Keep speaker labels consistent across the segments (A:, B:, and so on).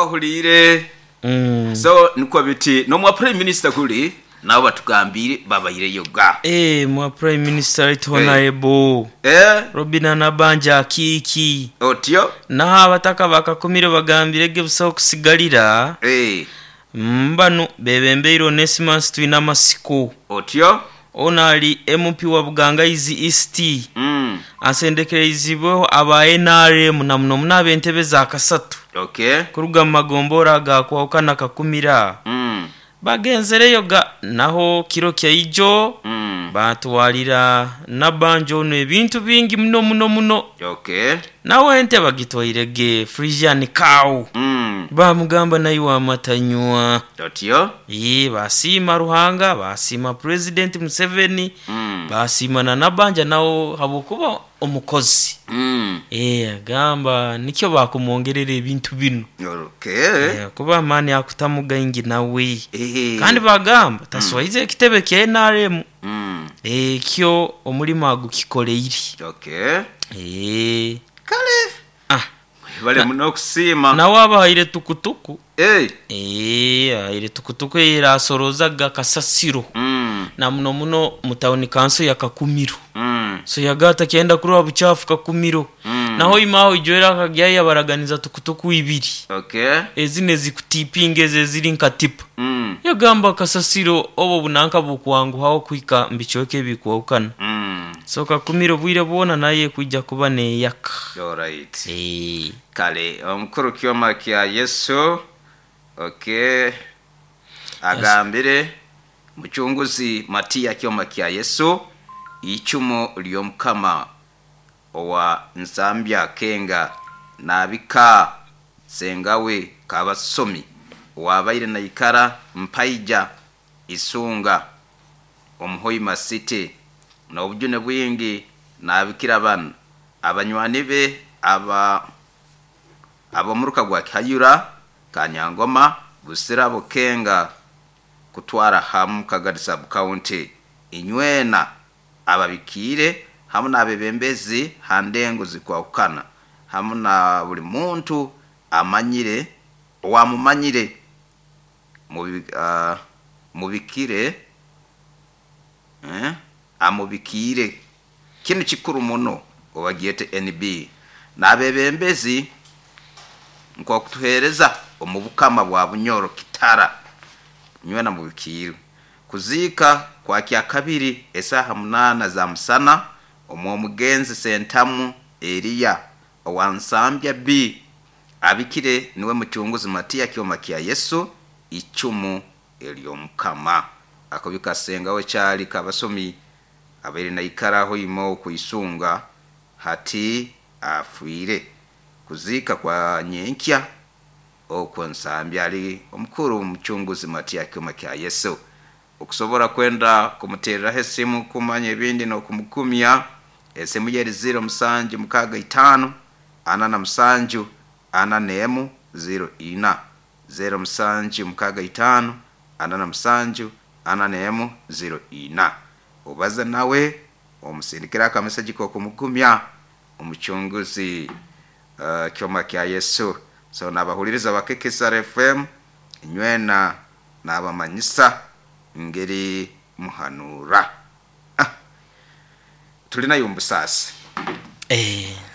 A: Ohuliire? So nikwo biti n'omwa Prime Minister kuli nabo batugambiire babaireyo ga.
B: Eeh mwa Prime Minister Right Honourable Robinah Nabbanja Akiiki.
A: Otyo?
B: Naho abataka ba Kakumiro bagambire ge busaho kusigalira. Bano bebembeire Onesimus Twinamasiko.
A: Otyo?
B: Ono ali MP wa Bugangaizi East. Asendekereizibweho aba nrm na muno muno ab'entebe za kasatu kuruga mu magombolola aga kwahukana Kakumiro. Bagenzereyo gha naho kiro kya ijo baatwalira Nabbanja ono ebintu bingi muno muno muno. Naho ente bagitwaire ghe Friesian cow. Baamugamba naiwe amata nywa. Yee, baasiima Ruhanga, baasiima Pulezidenti Museveni, baasiima na Nabbanja nawe habw'okuba omukozi. Eeh, agamba nikyo baakumwongerera ebintu binu.
A: Okay.
B: Eh, kuba amaani akutamu gaingi nawe. Kandi baagamba taswaize ekitebe kya nrm. Ekyo omulimo agukikoleire.
A: Okay.
B: Eeh.
A: Kale.
B: Ah.
A: Mwebale muno okusiima.
B: Nawe abahaire tukutuku.
A: Eeh.
B: Eeh, ahaire tukutuku eyo erasorozaga kasasiro. Na muno muno mu tawuni kanso ya Kakumiro. So yaga atakyenda kurora bukyafu Kakumiro. Naho ima agho ijo era akagyayo yabaraganiza tukutuku ibiri.
A: Okay.
B: Ezino ezikutipinga ezo eziri nka tipa. Yagamba kasasiro obwo bunanka bukwanguhagho okuhika mu bicweka ebikwahukana. So Kakumiro obwire bwona nayo ekwija kuba neyaka.
A: Alright.
B: Eeh.
A: Kale omukuru Kyoma kya Yesu okay agambire Mucunguzi Matia Kyoma kya Yesu eicumu ly'Omukama owa Nsambya Kenga naabika Ssengawe Kabasomi owaabaire naikara Mpaija Isunga omu Hoima City n'obujune bwingi naabikira banu abanywani be aba ab'omuruka gwa Kihayura, Kanyangoma, Busira, Bukenga kutwara hamu Kagadi Sub-County. Inywena ababikiire hamu n'abebembezi ha ndengo zikwahukana hamu na buli muntu amanyire owamumanyire mubikire amubikiire. Kinu kikuru muno obagyete NB n'abebembezi nk'okutuheereza omu Bukama bwa Bunyoro Kitara nywena mubikiirwe. Kuziika kwa Kyakabiri esaaha munaana za musana omw'omugenzi Sentamu Eriya owa Nsambya B abikire niwe Mucunguzi Matia Kyoma kya Yesu icumu ery'Omukama. Akobika Ssengawe Kyali Kabasomi abaire naikara hoima oku Isunga hati afwire. Kuziika kwa nyenkya okwo Nsambya ali omukuru Mucunguzi Matia Kyoma kya Yesu. Okusobora kwenda kumutereraho esimu kumanya ebindi n'okumugumya, esimu ye eri ziiro musanju mukaaga itaano, ana na musanju, ana n'emu, ziiro ina. Zeero musanju mukaaga itaano, ana na musanju, ana n'emu, ziiro ina. Obaze nawe, omusindikire akameseji k'okumugumya Omucunguzi Kyoma kya Yesu. So n'abahuliriza ba KKSR FM inywena nabamanyisa ngeri muhanura. Ah! Tulinayo omu busaasi.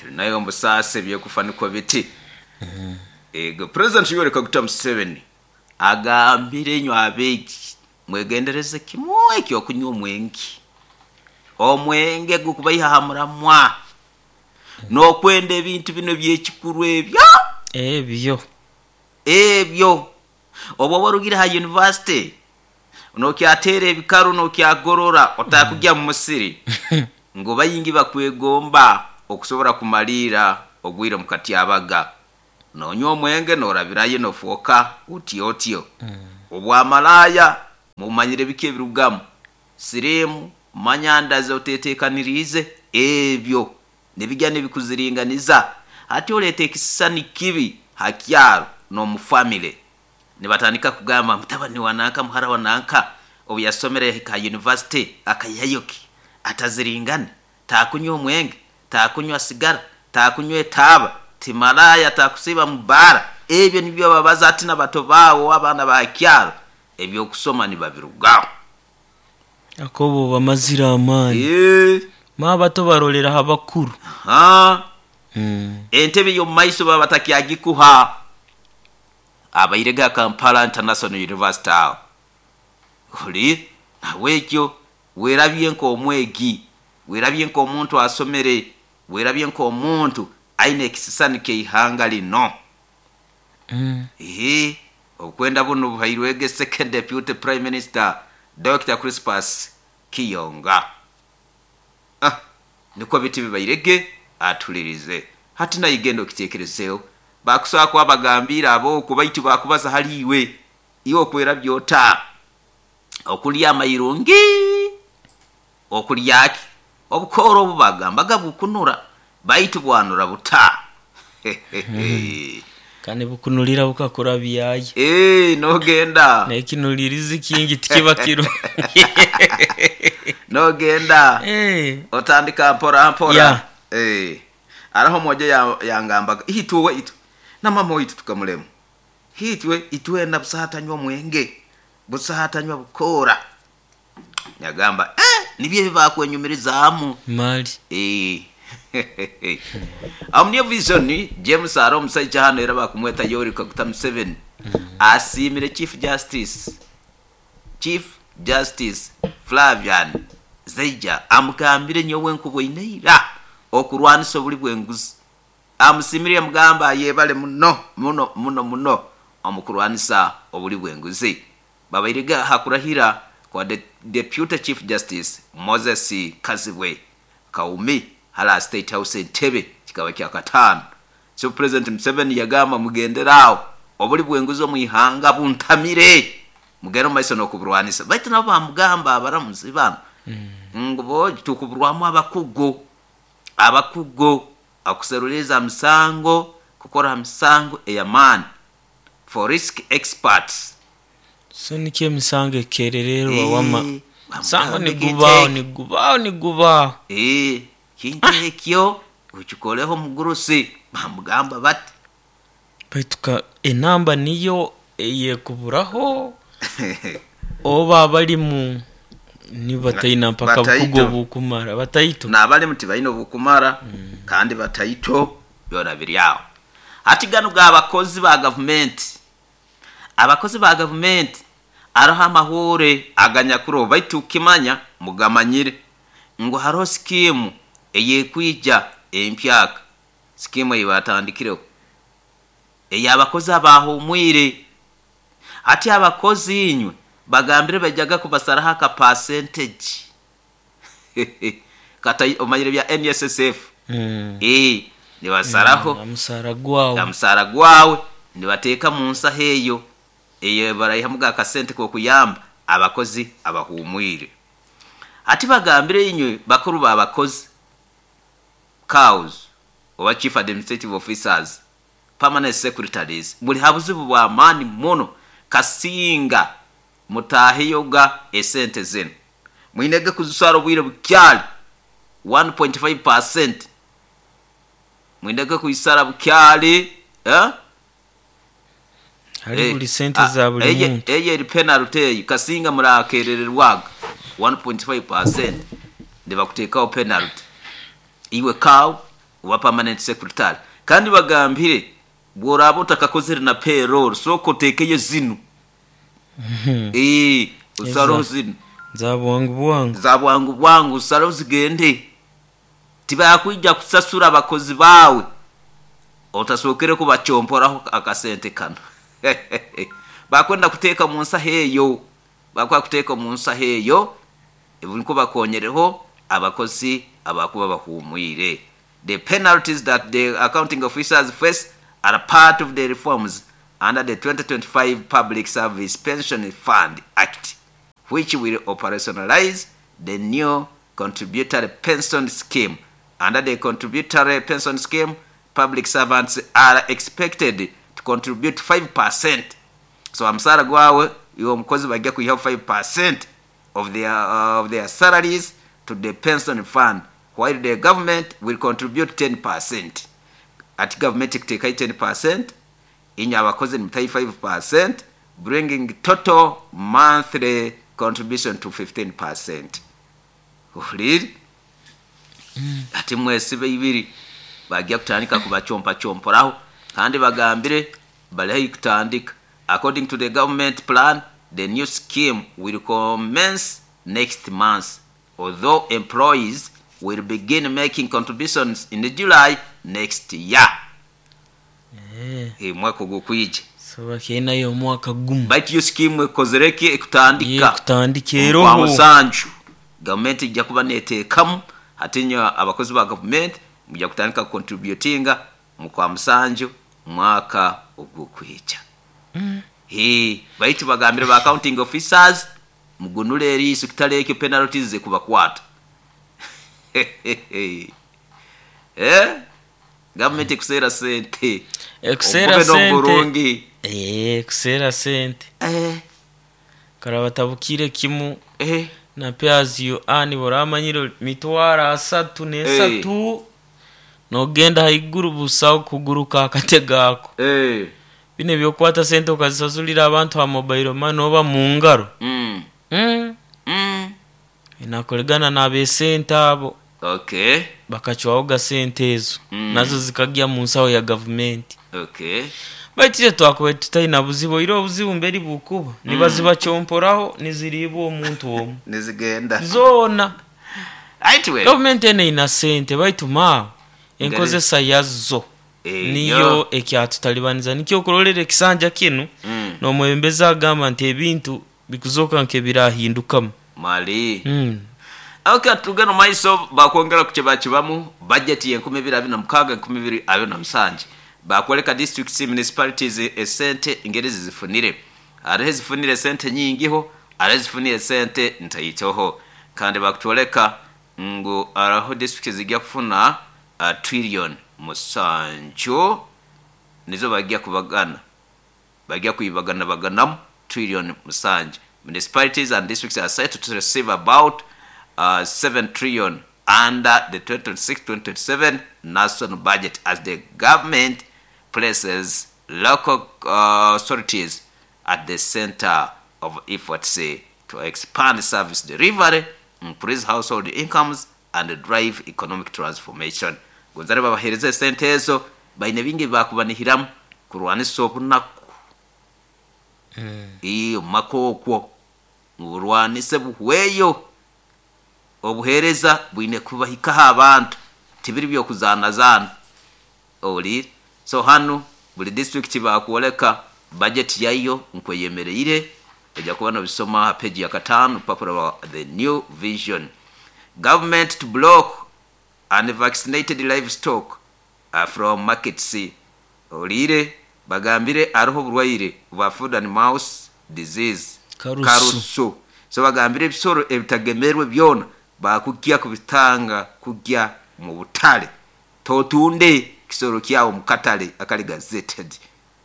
A: Tulinayo omu busaasi eby'okufa nikwo biti. Ego President Yoweri Kaguta Museveni agambire inywe abeegi mwegendereze kimwe eky'okunywa omwenge. Omwenge gukubaiha aha muramwa n'okwenda ebintu binu eby'ekikuru ebyo.
B: Ebyo.
A: Ebyo. Obu oba orugire ha yunivasite, nookyateera ebikaru nookyagorora otaakugya mu musiri ngu baingi bakwegomba okusobora kumaliira ogwire omu katyabaga. Noonywa omwenge noorabirayo noofooka otyo otyo. Obwamalaaya mumanyire biki ebirugamu, siriimu, manya ndazi oteeteekaniriize, ebyo nibigya nibikuziringaniza. Hati oleeta ekisisani kibi ha kyaro n'omu famire. Nibatandika kugamba mutabani wa nanka, muhara wa nanka obu yasomere yahika ha yunivasite akaihayo ki? Ataziringane, taakunywa omwenge, taakunywa sigara, taakunywa etaaba, ti malaaya, taakusiiba mu bbaara. Ebyo nibyo babaza ati n'abato baawo, abaana ba kyaro ebyokusoma nibabirugaho.
B: Akobo bamazire amaani. Ma abato baroleraho abakuru.
A: Entebe y'omu maiso baba batakyagikuha. Abairege ha Kampala International University aho. Oli nahabwekyo werabye nk'omwegi, werabye nk'omuntu asomere, werabye nk'omuntu aine ekisisani ky'eihanga lino. Obukwenda bunu buhairwege Second Deputy Prime Minister Dokita Crispus Kiyonga. Nikwo biti bibairege atulirize. Hati naye genda okitekerezeho. Bakusobola kuba bagambiire ab'oku baitu bakubaza hali iwe. Iwe okwerabya ota? Okulya amairungi, okulya ki? Obukoora obu bagambaga bukunura, baitu bwanura buta?
B: Kandi bukunulira bukakurabyayo.
A: Nogenda.
B: N'ekinulirizi kingi tikiba kirungi.
A: Nogenda. Otandika mpora mpora. Araho omwojo yangambaga, itwe itwe na mama waitu tukamulema. Itwe itwena busaho atanywa omwenge, busaho atanywa bukoora. Yagamba, nibyo ebi bakwenyumirizaamu.
B: Mali.
A: Omu New Vision, James hariho omusaija hanu era bakumweta Yoweri Kaguta Museveni asiimire Chief Justice Flavian Zeija amugambire, nyowe nkuboine ira okurwanisa obuli bw'enguzi. Amusiimire yamugamba ayebale muno muno muno muno omu kurwanisa obuli bw'enguzi. Babairege aha kurahira kwa Deputy Chief Justice Moses Kazibwe Kaumi hali State House Entebbe kikaba kyakataano. So President Museveni yagamba mugendere aho obuli bw'enguzi omu ihanga buntamire, mugende omu maiso n'okuburwanisa. Baitu nabo bamugamba abaramuzi banu ngu bo tukuburwamu abakugu, abakugu akuseruliiriza misango, kukora ha misango ey'amaani, for risk experts.
B: So nikyo emisango ekerererwa wama. Musango nigubaaho nigubaaho nigubaaho.
A: Kintu ekyo okikoleho omugurusi, bamugamba bati.
B: Baitu ka enamba niyo eyekuburaho oba abalimu nibo bataina mpaka bukugu obukumara bataito.
A: N'abalimu tibaine obukumara kandi bataito byona biri aho. Hati ganu g'abakozi ba gavumenti. Abakozi ba gavumenti haroho amahuure aganyakuroho baitu kukimanya mugamanyire ngu haroho sikiimu ey'ekwija empyaka, sikiimu ei baatandikireho ey'abakozi abaahumwire. Hati abakozi inywe bagambire baijaga kubasaraho aka percentage kata omanyire bya NSSF nibasaraho
B: Omusaara gwawe.
A: Omusaara gwawe nibateeka mu nsaho eyo eyo baraihamuga akasente k'okuyamba abakozi abahumwire. Hati bagambire inywe bakuru b'abakozi, CAOs oba Chief Administrative Officers, Permanent Secretaries, muli ha buzibu bw'amaani muno kasinga mutaheyoga esente zinu. Mwinege kuzisara obwire bukyali 1.5%. Mwinege kuisara bukyali.
B: Hali buli sente za buli muntu.
A: Eyo eri penalty eyo kasinga murakerererwaga 1.5% nibakuteekaho penalty. Iwe CAO oba permanent secretary. Kandi bagambire bw'oraaba otakakozere na payroll sooka oteekeyo zinu. Osareho zinu.
B: Za bwangu bwangu.
A: Za bwangu bwangu osareho zigende. Tibakwija kusasura abakozi baawe otasookere kubacomporaho akasente kanu. Bakwenda kuteeka mu nsaho eyo. Bakwenda kuteeka omu nsaho eyo nukwo bakonyereho abakozi abakuba bahumwire. The penalties that the accounting officers face are part of the reforms under the 2025 Public Service Pension Fund Act, which will operationalize the new contributory pension scheme. Under the contributory pension scheme, public servants are expected to contribute 5%. So omusaara gwawe iwe omukozi bajja kwihaho 5% of their salaries to the pension fund, while the government will contribute 10%. Ati government ekuteekayo 10%, Inywe abakozi nimutayo 5%, bringing total monthly contribution to 15%. Ohuliire? Hati mwesibe ibiri bajya kutandika kubachompachomporaho, kandi bagambire bali haihi kutandika. According to the government plan, the new scheme will commence next month, although employees will begin making contributions in July next year. Mwaka ogukwija.
B: So bakyenayo omwaka gumu.
A: Baitu yo scheme ekozere ki? Ekutandika.
B: Ekutandika
A: Kwa
B: eroho.
A: Musanju gavumenti ijja kuba neteekamu. Hati nyo abakozi ba gavumenti mujja kutandika kucontributinga mu kwa musanju mwaka ogukwija. Baitu bagambire ba accounting officers mugunule eriiso, kitali ekyo penalties zikubakwata. Gavumenti ekuseera sente.
B: Ekuseera
A: Obube
B: sente.
A: n'oburungi.
B: Ekuseera sente. Karaba tabukire kimu. Na pay as you earn boramanyire mitwaro asatu n'esatu. Nogenda haiguru busaho kuguruka akatego ako. Bino ebyokwata sente okazisasulira abantu ha mobile money oba mu ngaro. Nakoregana n'abesente abo. Bakacwaho sente ezo. Nazo zikagya mu nsaho ya gavumenti. Baitu itwe twakubaire tutaina buzibu, oire obuzibu mberi bukuba. Nibazibakyomporaho niziriibwa omuntu omwe.
A: Nizigenda.
B: Zoona.
A: Aitwe.
B: Gavumenti eno eina sente baitu maawe enkozesa yazo niyo ekyatutalibaniza. Nikyo okurolera ekisanja kinu n'omwebembezi agamba nti ebintu bikuzoka nk'ebirahindukamu.
A: Mali. Okay, tugenda mu maiso bakwongera ku kyebakibamu budget ye 2026 2027. Bakwoleka districts, municipalities esente engeri zizifunire. Hariho ezifunire sente nyingiho, hariho ezifunire sente ntaitoho. Kandi bakutwoleka ngu hariho district zijja kufuna trillion 7 nizo bajja kubagana. Bajja kuibagana baganamu trillion 7. Municipalities and districts are set to receive about 7 trillion under the 2026-2027 national budget as the government places local authorities at the center of efforts to expand service delivery, increase household incomes, and drive economic transformation. Gonzale babahereze sente ezo baine bingi bakubanihiramu kurwanisa obunaku. Iyo makokwo burwanise buhweyo. Obuhereza bwine kubahikaho abantu tibiri byokuzanazana. Owulire? So hano buli district bakwoleka budget yayo nkweyemereire, ojja kuba nobisoma ha page ya 5 rupapuro rwa The New Vision. Government to block unvaccinated livestock from markets. Owulire? Bagambire hariho oburwaire bwa food and mouth disease.
B: Karusu.
A: Karusu. So bagambire ebisoro ebitagemerwe byona bakujja kubitanga kujja mu butale. Totunde kisoro kyawo mu katale akali gazetted.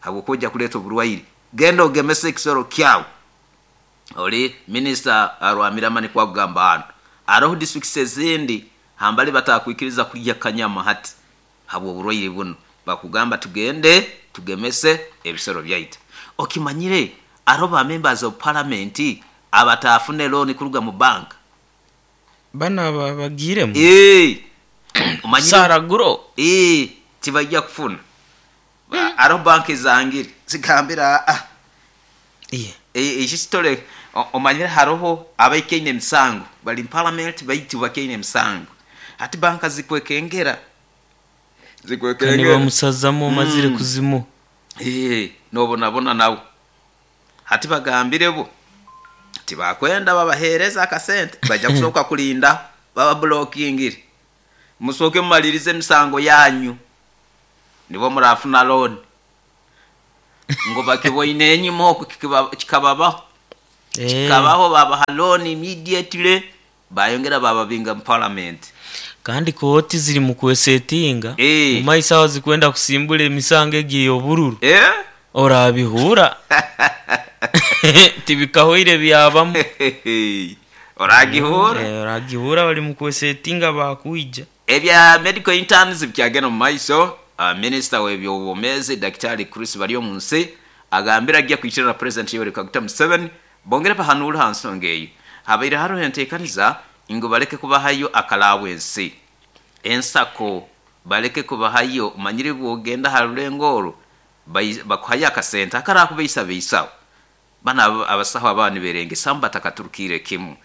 A: Habwokuja kuleta oburwaire. Genda ogemese ekisoro kyawo. Oli minister Rwamirama kwa kugamba hano. Hariho districts ezindi hambali batakwikiriza kulya kanyama hati habwo oburwaire buno. Bakugamba tugende tugemese ebisoro byaitu. Okimanyire hariho ba members of parliament abatafune loan kuruga mu bank.
B: Bana bagiremu.
A: Omanyire
B: Saraguro.
A: Tibajja kufuna. Hariho bank zangire zigambira ekisitole omanyire hariho abaikaine emisango bali mu parliament baitu bakaine emisango. Hati banka zikwekengera. Zikwekengera.
B: Kandi bamusazamu omazire kuzimu.
A: Nobonabona nawe. Hati bagambire bo tibakwenda babahereza akasente bajja kusooka kulinda baba blockingire. Musooke mumalirize emisango yanyu nibo murafuna loan. Ngo bakiboine enyuma oku kikababaho. Kikabaho babaha loan immediately bayongera bababinga mu parliament.
B: Kandi kooti ziri mu kwesetinga. Mu maiso aho zikwenda kusimbula emisango egiye obururu. Orabihura. Tibikahoire byabamu.
A: Oragihura.
B: Oragihura bali mu kwesetinga bakwija.
A: Ebya medical interns byagenda mu maiso. Minisita w'ebyobwomeezi Daktari Chris Baryomunsi agambire ajja kwikirira na President Yoweri Kaguta Museveni bongere bahanuure ha nsonga eyo. Habaire haroho enteekaniza ngu baleke kubahayo akalawensi, ensako baleke kubahayo. Omanyire bwogenda ha rulengo oru bakuhayo akasente akarakubeisabeisaho. Banu abasaho ababa niberengesamu batakaturukiire kimu.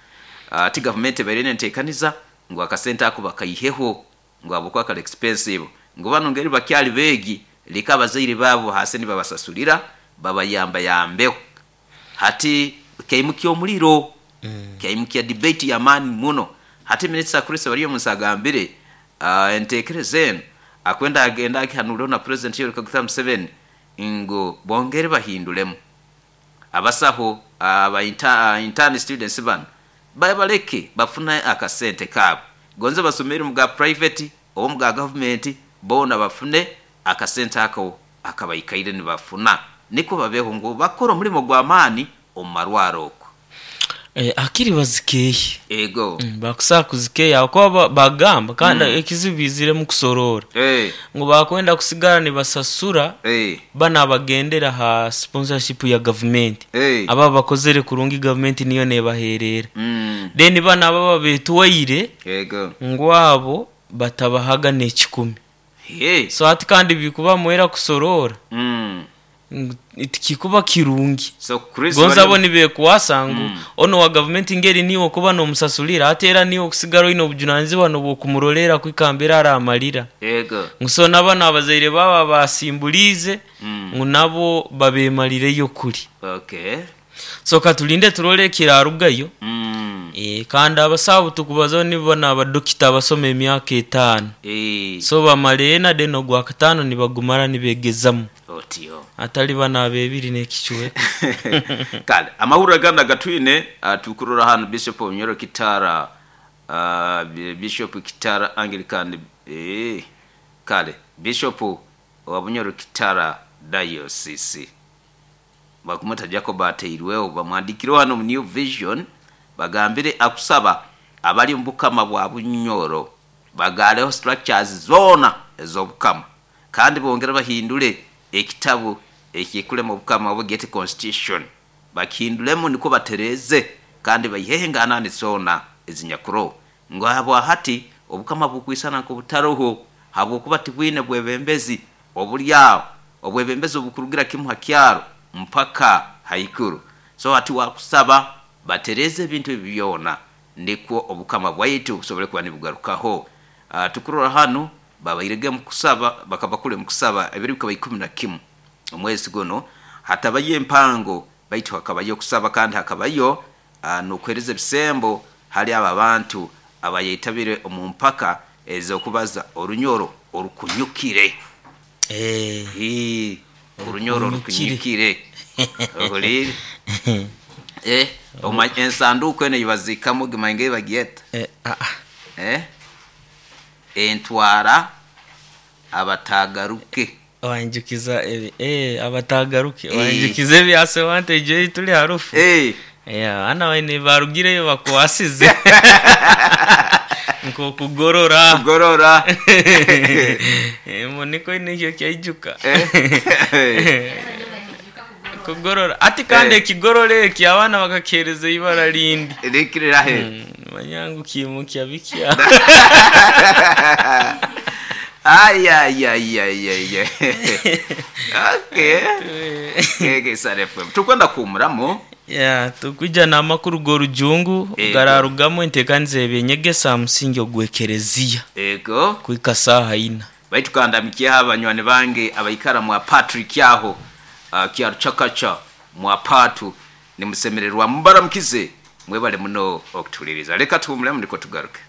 A: Ati gavumenti ebaire nenteekaniza ngu akasente ako bakaiheho ngu habwokuba kali expensive, ngu banu ngeri bakyali beegi leka abazaire baabo hasi nibabasasulira babayambayambeho. Hati kyaimukya omuliro, kyaimukya debate y'amaani muno. Hati Minisita Chris Baryomunsi agambire enteekereza enu akwenda agende agihanuureho na Purezidenti Yoweri Kaguta Museveni ngu bongere bahindulemu. Abasaho aba intern students banu babaleke bafune akasente kaabo. Gonze basomeire omu ga private oba omu ga gavumenti, boona bafune akasente ako akabaikaire nibafuna nikwo babeho ngu bakore omulimo gw'amaani omu marwaro okwo.
B: Hakiri bazikeehe.
A: Ego.
B: Bakusaha kuzikeeha ahabw'okuba bagamba kandi ekizibu baiziremu kusoroora ngu bakwenda kusigara nibasasura banu abagendera aha sponsorship ya gavumenti ababa bakozere kurungi gavumenti niyo nebaherera. Then banu ababa betwaire ngu abo batabahaga n'ekikumi. So hati kandi bikuba mwera kusoroora ngu tikikuba kirungi.
A: So Chris
B: Gonza
A: bari
B: bo nibekwasa ngu onu owa gavumenti ngeri niiwe okuba n'omusasulira ate era niiwe okusigara oine obujunanizibwa n'obwokumuroleera kuhika mbere aramalira.
A: Ego.
B: Ngu so na banu abazaire baabo abasimbuliize ngu nabo babemalireyo kuri.
A: Okay.
B: So katulinde turole ekirarugayo. Kandi abasawo abutukubazaho nibo banu abadokita abasoma emyaka etaano. So bamara ena then ogwakataano nibagumara nibegezamu.
A: Otyo.
B: Atali bano ab'ebiri n'ekicweka.
A: Kale amahurire agandi agatwine tukurora hanu Bishop Onyoro Kitara, Bishop Kitara Anglican, kale Bishop wa Bunyoro Kitara Diocese bakumweta Jacob Ateirweho, bamwandikireho hanu omu New Vision bagambire akusaba abali omu bukama bwa Bunyoro bagaaleho structures zoona ez'obukama kandi bongere bahindule ekitabu ekikulema obukama obu gyete constitution bakihindulemu nikwo batereeze kandi baiheho enganani zoona ezinyakuroho ngu habwahati obukama bukwisana nk'obutaroho habwokuba tibwine bwebembezi obuli aho, obwebembezi obukurugira kimu ha kyaro mpaka haiguru. So hati wakusaba batereeze ebintu ebi byona nikwo obukama bwaitu busobole kuba nibugarukaho. Tukurora hanu babairege omu kusaba, bakaba kuli omu kusaba ebiro bikaba 11 omwezi gunu, hatabayo empango baitu hakabayo okusaba kandi hakabayo n'okuheereza ebisembo hali abo abantu abayetabire omu mpaka ez'okubaza orunyoro orukunyukire. Orunyoro
B: Orukunyukire.
A: orukunyukire. Ohuliire? Omanya ensanduuku enu ei baziikamu gimanye engeri bagyeta? Entwara abatagaruke.
B: Wanjukiza ebi abatagaruke wanjukiza ebya Sewante ijo ei tuli ha rufu. Abaana baine barugireyo bakwasize nk'okugorora.
A: Kugorora.
B: Nikwo nikyo kyaijuka. Kugorora. Ati kandi ekigorora eki abaana bakakiheereza eibara rindi.
A: Rikirirahe.
B: Manya ngu kiimukya bikya.
A: Ayayayayaya. Okay. Kege FM. Tukwenda kuhumuramu.
B: Ya, tukwija n'amakuru g'orujungu gararugamu enteekaniza y'eby'enyegesa aha musingi ogw'ekereziya kuhika saaha ina.
A: Baitu kandamikyeho abanywani bange abaikara mwa Patrick aho Kyaruchakacha mwa Patu nimusemererwa mubaramukize mwebale muno okutuhuliriza. Leka tuhumulemu niko tugaruke.